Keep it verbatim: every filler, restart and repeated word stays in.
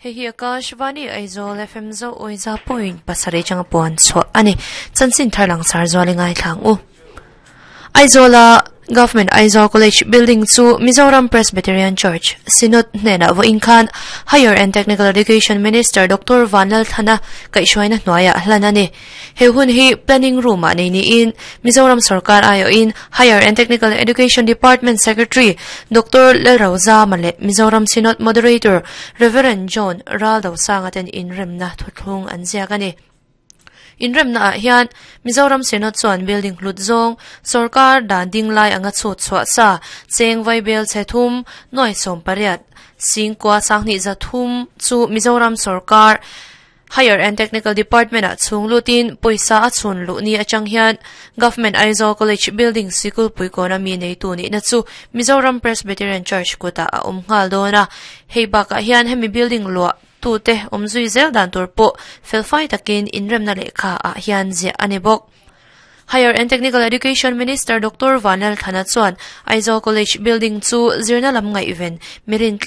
Hei hi Akashvani Aizawl F M zo oiza point pasarih changa puan chhuah ani. Chanchin thar lang sar zuali ngai thlang u. Aizawla Government Aizawl College building chu Mizoram Presbyterian Church Synod hnena vawiin khan Higher and Technical Education Minister Doctor Vanlalthlana kaihhruaina hnuaiah hlan a ni. He hun hi Planning Room ah nei niin Mizoram Sorkar aiawhin Higher and Technical Education Department Secretary Doctor Lalrozama leh Mizoram Synod Moderator Reverend John Raldosanga ten inremna thuthlung an ziak a ni. Inremna ah hian Mizoram Synod chuan building hlut zawng sorkar dan ding lai anga chhut chhuah sa cheng vaibel chhe thum nuai sawm pariat singkua sanghnih za thum chu Mizoram sorkar Higher and Technical Department ah chhung lutin pawisa a chhun luh ni atang hian Government Aizawl College building sikul puikawn ami neitu nihna chu Mizoram Presbyterian Church kutah a awm nghal dawn a. Hei bakah hian hemi building luah tute awmzui zel dan tur pawh felfai takin inremna lehkha ah hian ziah a ni bawk. Higher and Technical Education Minister Doctor Vanlalthlana chuan Aizawl College building chu zirna lam ngaihven mirin tla